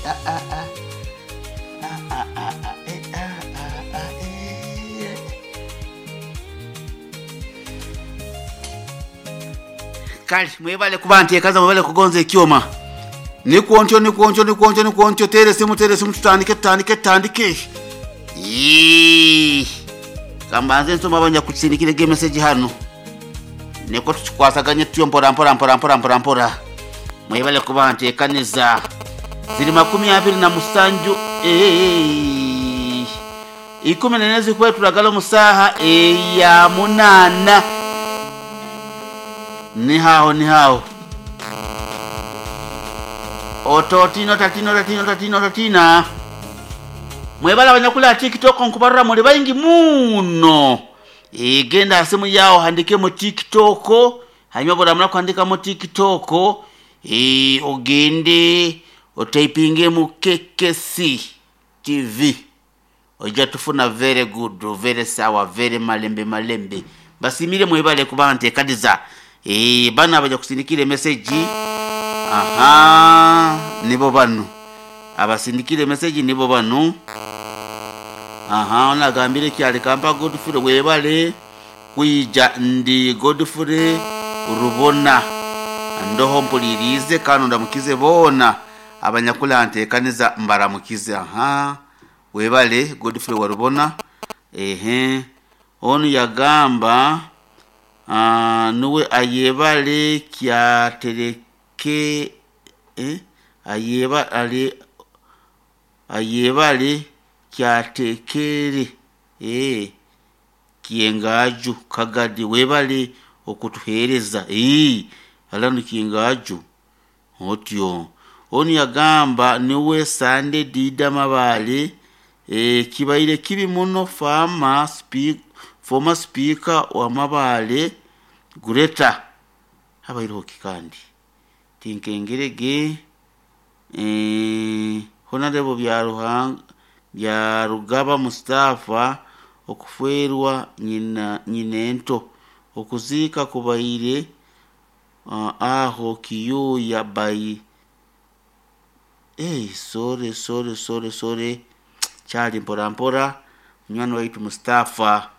a a a a a a a e a a a e. Kale mwebale kuba nteekaza, mwebale kugonza ekyoma. Nikwo ntyo, nikwo ntyo, nikwo ntyo, nikwo ntyo. Teera esimu, teera esimu, tutandike, tutandike, tutandike. Yee. Kambanze nsoma abanyakutusindikire ge message hano. Niko tukikwasaganye tutyo mpora mpora mpora mpora mpora mpora. Mwebale kuba nteekaniza. Ziri 27, 14 zikuba turagala omu saaha eya 8. Ni haho, ni haho. Ototino tatino tatino tatino tatina. Mwebale abanyakula TikTok, nkubarura muri baingi muno. Genda asimu yao handike mu TikTok, hanyuma buramara kuhandika mu TikTok, ogende otypinge mu KKC TV. Ojja tufuna very good, very sawa, very malembe malembe. Basimire, mwebale kuba ntekaniza. Bana abaja kusindikira message. Aha, nibo bano. Abasindikire message nibo bano. Aha, onagambire kyali kampa Godfrey, webale kwija. Ndi Godfrey Rubona, ndoho mpulirize kano, ndamukize boona abanyakula ntekaniza, mbaramukize. Aha, webale Godfrey Warubona. Ehe, onu yagamba nuwe ayebale kyatereke, ayeba ale ayebale kyatekere, kyengaju kagadi, webale okutuhereza. Alano kyengaju otyo. Onu yagamba niwe Sande Dida Mabale. Kibaire kibi muno fama speak, former speaker wa Mabale Greta habaireho kandi tinkengerege. Honorable Byaruhanga Byarugaba Mustafa okufwerwa nyina nyinento, okuziika kubaire aho Kiyuya by sore sore sore sore kyali mpora mpora munywani waitu Mustafa.